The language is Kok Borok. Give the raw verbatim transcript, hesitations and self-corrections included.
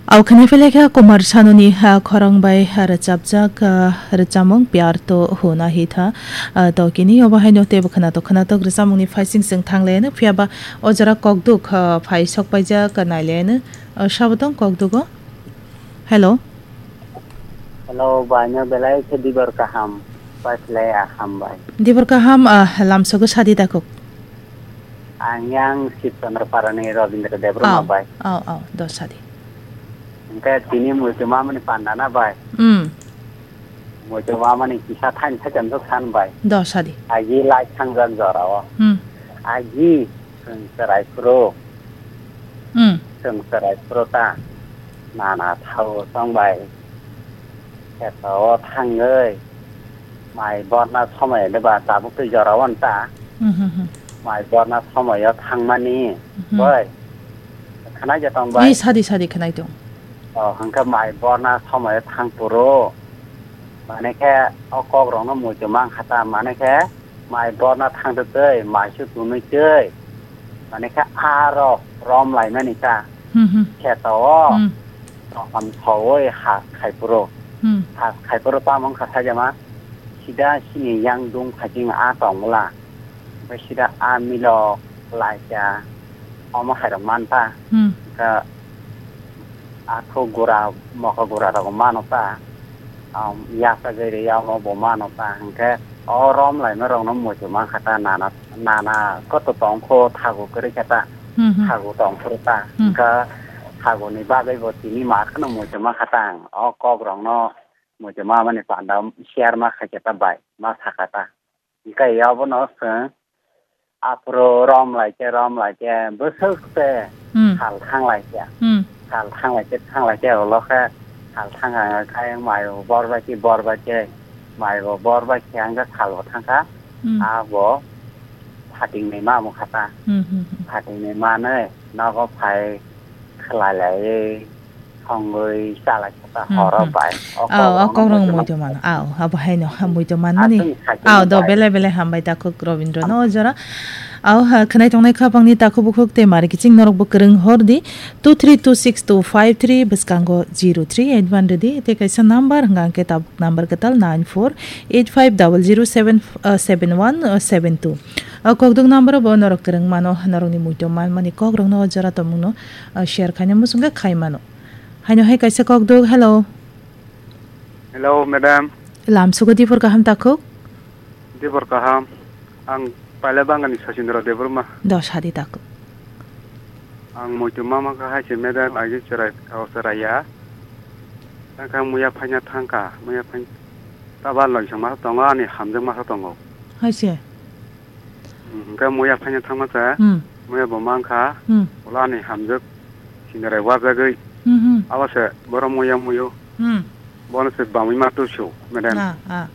Au khwnai phailai kha Kumar Sanuni, ah, khorang bai, ah, rwchapjak, ah, rwchapmung Pyar To Hona Hi Tha, ah, to kini obo haino teibo khwnatok khwnatok rwchapmungni phaising chwng thanglaino, phiyaba o jora kokduk, ah, phai sokpaijak, ah, nailaino, ah, sabo tong kokdugo. Hello. Hello, bai, no belai khe dibor kaham, pai phlai a ham bai. Dibor kaham, ah, lamsogo sadi dakuk. Ang yang Sib Chandra Parani Rabindra Debbarma Au, bai. Au, au, do sadi. Hingke tini muitu mamani panda na bai. Hmm. Muitu mamani kisa thain thaicham jok san bai. Do sadi. Agi lai thangjak jora o. Hmm. Agi chwng chwrai phuru. Hmm. Chwng chwrai phuru ta nana thao tong bai. Kheto o thangwi mai borna somoi de ba tabuk twi jora o ta. Hmm, hmm, hmm. Mai borna somoi o thangmani. Hmm. Bai. Khwnai ja tong bai. Ni sadi sadi khwnai tong. O, hwnkhe mai borna somoi thang phuru, mane khe o kok rokno muitu mang kha ta, mane khe mai borna thang twi, mai su tunui twi, mane khe aro rom lai mani ta. Hmm, hmm. Kheto o, Hmm. tongtham soi ha khai phuru. Hmm. Ha khai phuru tamo wngkha saijama, sida sini yang dung phai ching a tong bwla. Bai sida a milok, laika, omo hai rok man ta. Hmm. Kha athu gura, moka gura rok mano ta. Am, yasa gari ya omo bo mano ta. Hingke o rom lai no rok no muitu man kha ta nana, nana koto tong kho thagu kwrwi kha ta. Hmm, hmm. Thagu tong phuru ta. Hmm. Hingke thagu ni bagwi bo tini ma kheno muitu man kha ta ang. O kok rok no muitu ma mani panda share ma kha khe ta bai, ma sa kha ta. Hingke abono chwng aphuru rom lai khe, rom lai khe, bwswk se Hmm. sal thang lai khe. Hmm. Sal thang lai khe, thang lai khe, ulo khe sal thang kha khe mai bo bor bai khe, bor bai khe, mai bo bor bai khe, hingke sal bo thang kha. Hmm. Abo phating ni ma mung kha ta. Hmm, hmm, hmm. Phating ni manwi nogo phai khlai lai. Thongwi chalai kha ta Hmm, horo hmm. bai. O Au, o kok rok kokrok no muitu mano. Au, abo haino, ha, muitu manmani. Aswk sakhe Au, do bai. Belai belai hambai takhuk Robindra no o jora. Au, ha, khwnai tongnai khapang ni takhuk bukhuk tei mari kiching norok bo kwrwng hor di. Two three two six two five three bwskango zero three eight one rwdi. Tei kaisa number hwnkha hwnkhe tabuk number kwtal nine four eight five double zero seven, uh, seven one, uh, seven two. O kokduk number bo norok kwrwng mano, norok ni muitu manmani kok rok no o jora tongmung no, uh, share khaina muchung khe khai mano. Haino hai kaisa kok duk, hello. Hello, madam. Lam sugo dipor kaham takhuk? Dipor kaham. Ang paila bangani Sachindra Debbarma. Do sadi takhuk. Ang muitu mama kha hai se madam, agi cherai, o cherai ya. Tangkha muya phaina thangkha, muya phain-, taba loisong masa tongo, ani hamjak masa tongo. Hai se? Hmm, hingke muya phaina thangma khe, Hmm. muya bo mankha, Hmm. ulo ani hamjak sinirai wajagwi. Hmm, hmm. Abo se borok muya muyo. Hmm. Bono se bamwi ma tusu, madam. Ah, ah.